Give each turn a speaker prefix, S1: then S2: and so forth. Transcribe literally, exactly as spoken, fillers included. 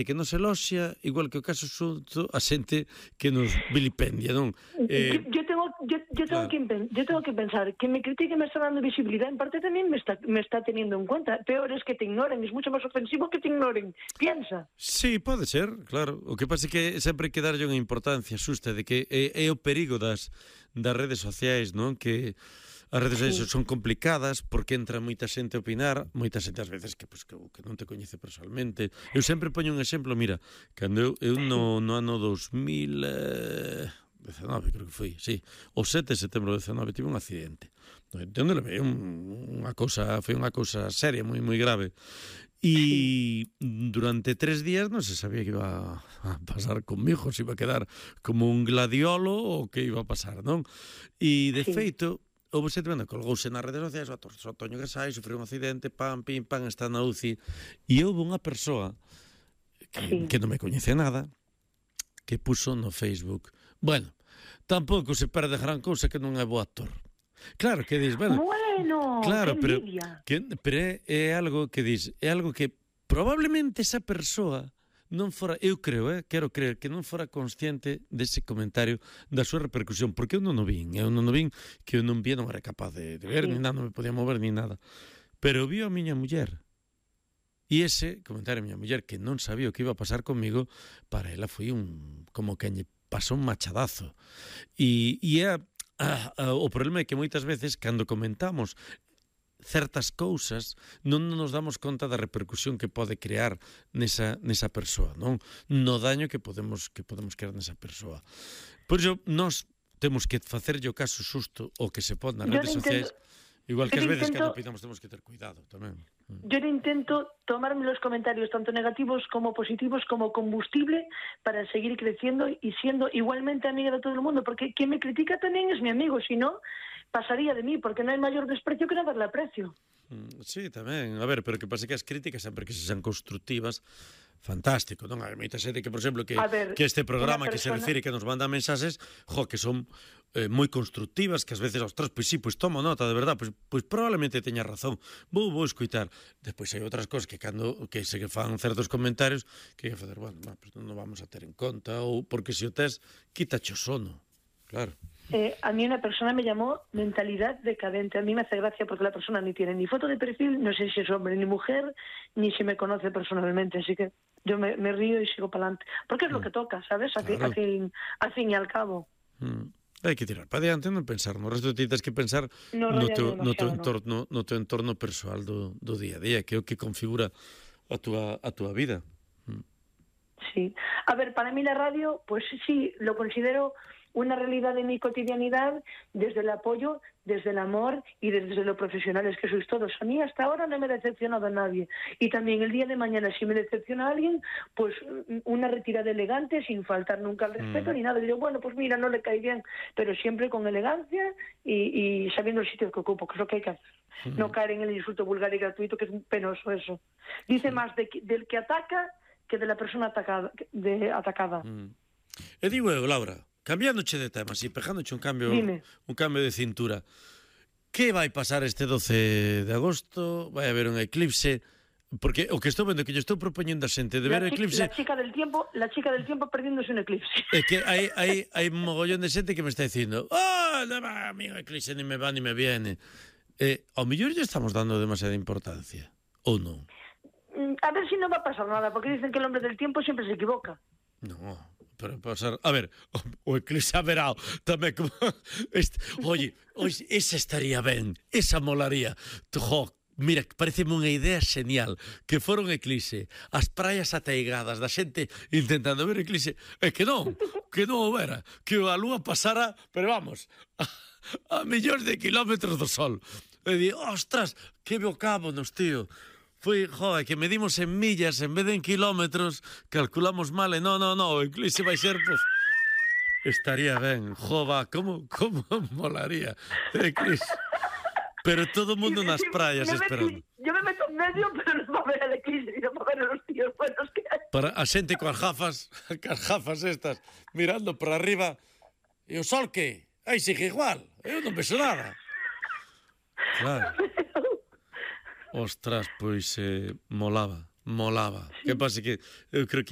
S1: que nos eloxia, igual que o caso xusto, a xente que nos vilipendia, non?
S2: Eh, yo, yo tengo, yo, yo tengo
S1: claro.
S2: que yo tengo que pensar que me critique me está dando visibilidad, en parte también me está me está teniendo en cuenta. Peor es que te ignoren, es mucho más ofensivo que te ignoren. Piensa.
S1: Sí, pode ser, claro. O que pasa é que sempre hai que darlle unha importancia xusta de que é, é o perigo das das redes sociais, non? Que as redes sociais sí. son complicadas porque entra moita xente a opinar, moita xente ás veces que, pues, que, que non te coñece personalmente. Eu sempre poño un exemplo, mira, cando eu, eu no, no ano dos mil dezenove, creo que foi, sí, o sete de setembro de dezenove tive un accidente. Onde levei un, unha cousa, foi unha cousa seria, moi moi grave. E durante tres días non se sabía que iba a pasar conmigo, se iba a quedar como un gladiolo ou que iba a pasar, non? E de
S2: sí.
S1: feito, houve xente vendo, colgouse nas redes sociais, o Toño Gasai sufriu un accidente, pam, pim, pam, está na U C I, e houve unha persoa que, sí. que non me coñece nada, que puso no Facebook, bueno, tampouco se perde gran cousa que non é bo actor. Claro, que dis, bueno,
S2: bueno
S1: claro, pero,
S2: que,
S1: pero é, é algo que dis, é algo que probablemente esa persoa non fora, eu creo, eh, quero creer que non fora consciente dese comentario da súa repercusión, porque eu non o vin, eu non o vin, que eu non vi, non era capaz de, de ver, sí. ni nada, non me podía mover, ni nada. Pero viu a miña muller, e ese comentario a miña muller, que non sabía o que iba a pasar comigo, para ela foi un, como que lle pasou un machadazo. E, e é, a, a, o problema é que moitas veces, cando comentamos certas cousas, non nos damos conta da repercusión que pode crear nesa, nesa persoa, non? No daño que podemos que podemos crear nesa persoa. Por iso, nós temos que facerlle o caso xusto o que se pode nas redes sociais, igual que ás veces intento, cando opinamos temos que ter cuidado tamén.
S2: Yo intento tomarme los comentarios tanto negativos como positivos como combustible para seguir creciendo y siendo igualmente amiga de todo el mundo, porque quien me critica también es mi amigo, si no pasaría de mí, porque no hay mayor desprecio que no darle aprecio.
S1: Sí, tamén, a ver, pero que pasa que as críticas sempre que se sean constructivas, fantástico, non? Hai moita xente que, por exemplo, que, ver, que este programa persona... que se refire, que nos manda mensaxes, jo, que son eh, moi constructivas, que ás veces, ostras, pois sí, pois tomo nota, de verdad, pois, pois probablemente teña razón, vou, vou escutar. Despois hai outras cosas que cando que se que fan certos comentarios, que hai que fazer, bueno, no, pues non vamos a ter en conta, ou porque se o tes, quítache o sono, claro.
S2: Eh, a mí una persona me llamó mentalidad decadente. A mí me hace gracia porque la persona ni tiene ni foto de perfil, no sé si es hombre ni mujer, ni si me conoce personalmente, así que yo me, me río y sigo para adelante. Porque es lo que toca, ¿sabes? Al, claro. fin, al, fin, al fin y al cabo.
S1: Mm. Hai que tirar para diante, non pensar no resto, ti tens que pensar no, no, teu, no, teu entorno, no teu entorno persoal do, do día a día, que é o que configura a túa, a túa vida. Mm.
S2: Sí. A ver, para mí la radio, pues sí, lo considero una realidad de mi cotidianidad, desde el apoyo, desde el amor y desde lo profesionales que sois todos. A mí hasta ahora no me ha decepcionado a nadie. Y también el día de mañana, si me decepciona a alguien, pues una retirada elegante, sin faltar nunca al respeto mm. ni nada. Y digo, bueno, pues mira, no le cae bien, pero siempre con elegancia y, y sabiendo el sitio que ocupo, que es lo que hay que hacer. Mm. No caer en el insulto vulgar y gratuito, que es penoso eso. Dice mm. más de, del que ataca que de la persona atacada. De, atacada.
S1: Mm. E digo eu, Laura, cambiándoche de tema, así, pejándoche un cambio
S2: Dime.
S1: un cambio de cintura. Que vai pasar este doce de agosto? Vai haber un eclipse? Porque o que estou vendo, que lle estou propoñendo a xente de ver o eclipse...
S2: La chica del tiempo, la chica del tiempo perdiéndose un eclipse.
S1: É que hai, hai, hai un mogollón de xente que me está dicindo oh, no va, amigo, eclipse ni me va ni me viene. Eh, ao mellor lle estamos dando demasiada importancia, ou non?
S2: A ver si no va a pasar nada, porque dicen que el hombre del tiempo siempre se equivoca.
S1: No, pero pasar... A ver, o, o eclipse haberá tamén como... Este, oye, oye, esa estaría ben, esa molaría. Jo, mira, pareceme unha idea genial, que fora un eclipse, as praias ateigadas da xente intentando ver eclipse, e que non, que non o vera, que a lúa pasara, pero vamos, a, a millóns de kilómetros do sol. E di, ostras, que bocámonos, tío. Foi, joder, que medimos en millas en vez de en kilómetros, calculamos mal, e no, no, no, o eclipse vai ser, pues, estaría ben, jova, como, como molaría, eclipse. Pero todo o mundo nas praias esperando.
S2: Yo me meto en medio, pero no va a ver el eclipse, no va a ver los tíos buenos que hay.
S1: Para a xente coas gafas, coas gafas estas, mirando para arriba, e o sol que? Aí sigue igual, eu non vexo nada. Claro. Ostras, pois eh, molaba, molaba. Sí. Que pasa que eu creo que